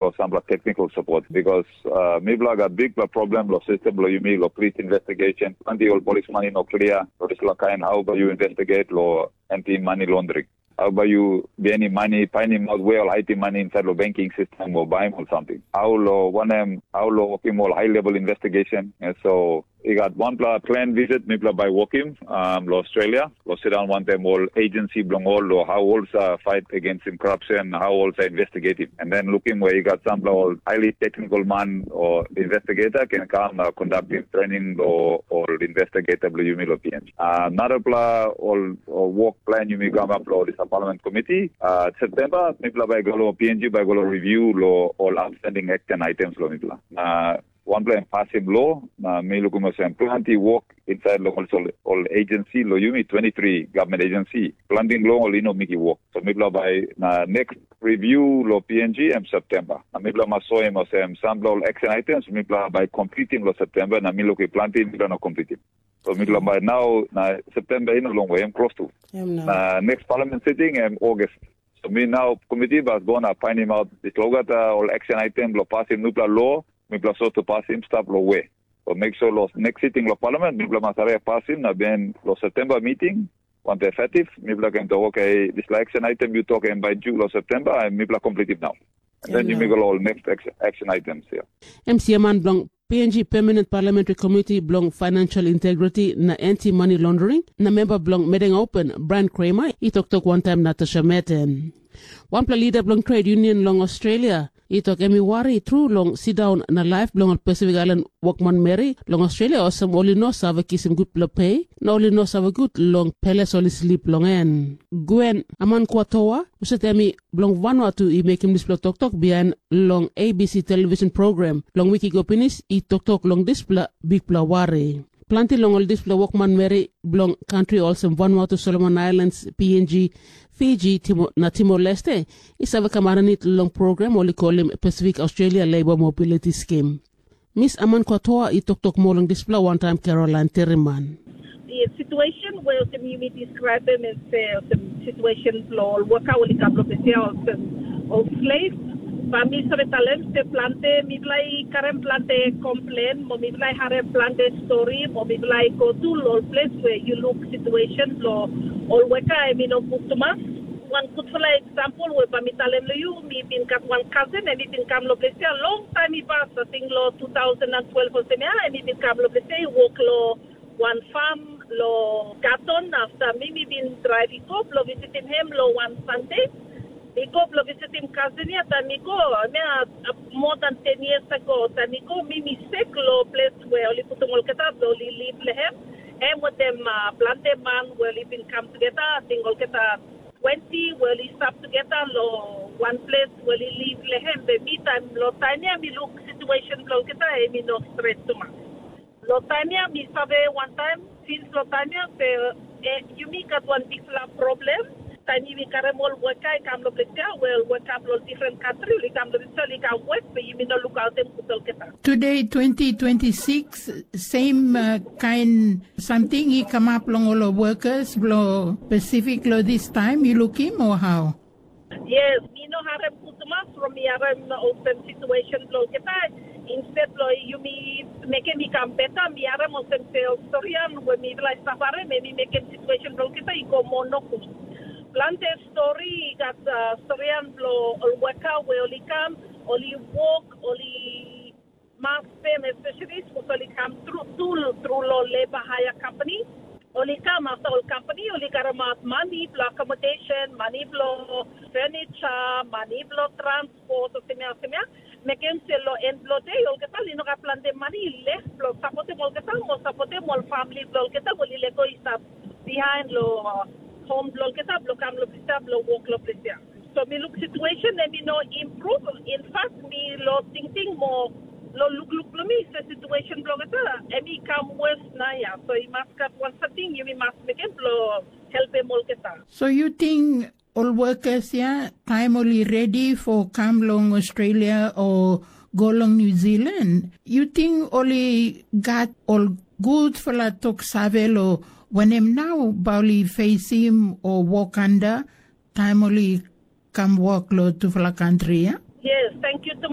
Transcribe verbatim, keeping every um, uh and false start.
o sampela technical support, because uh, mipela gat bikpela problem lo system lo yumi lo police investigation. Planti ol policeman i no clear lo dispela kain how ba you investigate lo anti money laundering. How ba you bini money, finding out where all hiding money inside lo banking system or buy or something. How lo wanem, how lo working all high level investigation. And so I gat wanpela plan visit mipela bai wokim um, lo Australia, lo sit down wantaim ol agency bilong ol, lo how ol sa fight against him corruption, how ol sa investigative. And then looking where you got sampela ol highly technical man or investigator can come uh, conducting training lo ol investigator bilong yumi lo P N G. Uh, narapela ol, ol work plan yumi come up lo this parliament committee. Uh, September, mipela bai go lo P N G bai go lo review lo ol outstanding action items lo mipela. Uh, wanpela em pasim lo, na mi lukim olsem planti wok insait long ol, ol agency lo yumi twenty-three government agency. Planti long ol i no miki wok. So mipela bai na next review lo P N G em September. Na mipela mas soim olsem sampela ol action items mipela bai completim lo September, na mi lukim planti mipela no completim. So mipela bai nau na September i no long way, em close to. Em na. Na next parliament sitting em August. So mi nau committee bas go na painim out dispela olgeta ol action item lo pasim nupela lo, mipela sot to pasim stap lo we. So make sure lo next sitting lo parliament mipela mas are pasim na ben lo September meeting, want effective, mipela can talk, okay, dispela action item you talk em by June lo September, and mipela completive now. Then you make all next action, action items here. Em siaman bilong P N G Permanent Parliamentary Committee bilong Financial Integrity na Anti Money Laundering na memba bilong Meding Open, Brian Kramer, i toktok wantaim Natasha Meten. Wanpela lida bilong trade union long Australia i tok em i wari tru long sindaun na laip bilong ol Pasifik Ailan wokmanmeri long Australia, olsem ol i no save kisim gutpela pe na ol i no save gut long peles ol i slip long en. Gwen Amankwatoa, husat em i bilong Vanuatu, i mekim dispela toktok bihain long A B C television program long wik i go pinis, i toktok long dispela bikpela wari. Planti long ol dispela wokmanmeri bilong kantri olsem Vanuatu, Solomon Islands, P N G, Fiji, Timo, na Timor Leste i save kam aninit long program ol i kolim Pacific Australia Labour Mobility Scheme. Miss Aman Kwatoa i toktok moa long dispela wantaim Caroline Teriman. The situation where olsem yumi describe em as uh, olsem situation lo ol waka ol i kam lo besia olsem ol slave. Ba mi save talem se plante mipela i karem plante complain, mo mipela i harem plante story, mo mipela i go tu lo ol place where you look situation lo ol waka em i no good tumas. Wan gutpela example we ba mi talem lo you, mi bin gat wan cousin em i bin kam lo besia long time i pas, I think lo two thousand and twelve olsem ya, em i bin kam lo besia i work lo wan farm lo Gaton. After mi mi bin drive i go blo visitim hem lo wan Sunday. Mi go blo visitim cousin ya, taim mi go, mi a, a, more than ten years ago, taim mi go, mi mi sek lo ples we ol i putum olgeta blo ol i liv long hem. Em wantaim uh, plante man we ol i bin kam tugeta, I think olgeta twenty we ol i stap tugeta lo wan ples we ol i liv long hem. Be mi taim lo taim ya mi luk situation blo olgeta em i no stret tumas. Lo taim ya mi save wantaim, sins lo taim ya se eh, yumi gat wan bikpela problem. Taim yumi karim ol weka i kam lo ples ya, wel weka blo ol different country ol i kam lo ples ya, ol i kam wek, be yumi no lukautim gut olgeta. Today twenty twenty-six, same uh, kind something i kamap long ol workers blo Pacific lo this time, you look him or how? Yes, mi no harem gut tumas from mi harem olsem situation blo olgeta. Instead lo yumi mekim i kam beta, mi harem olsem se ol storian we mipela i safarim, em i mekim situation blo olgeta i go moa nogut. Plante stori i gat uh, storian blo ol weka we ol i kam, ol i wok, ol i mas pem, especially sapos ol i kam tru tru tru lo leba haia company. Ol i kam afta ol company ol i karamaut mani blo accommodation, mani blo furniture, mani blo transport, osemia osemia. Mekim se lo en blo de olgeta ol i no gat plante mani lef blo sapotim olgeta, mo sapotim ol famili blo olgeta ol i lego i stap bihain lo hom blo olgeta blo kam lo ples ya blo wok lo ples ya. So mi luk situation em i no improve. In fact mi lo tingting mo lo lukluk blo mi se situation blo olgeta em i kam wes na ya. So i mas gat wan samting yumi mas mekim blo helpim olgeta. So you think ol workers ya, taim ol i redi for kam long Australia o go long New Zealand, you think ol i gat ol gutpela tok save lo wanem nau ba ol i fesim o wok anda taim ol i kam wok lo tupela kantri ya? Yes, thank you too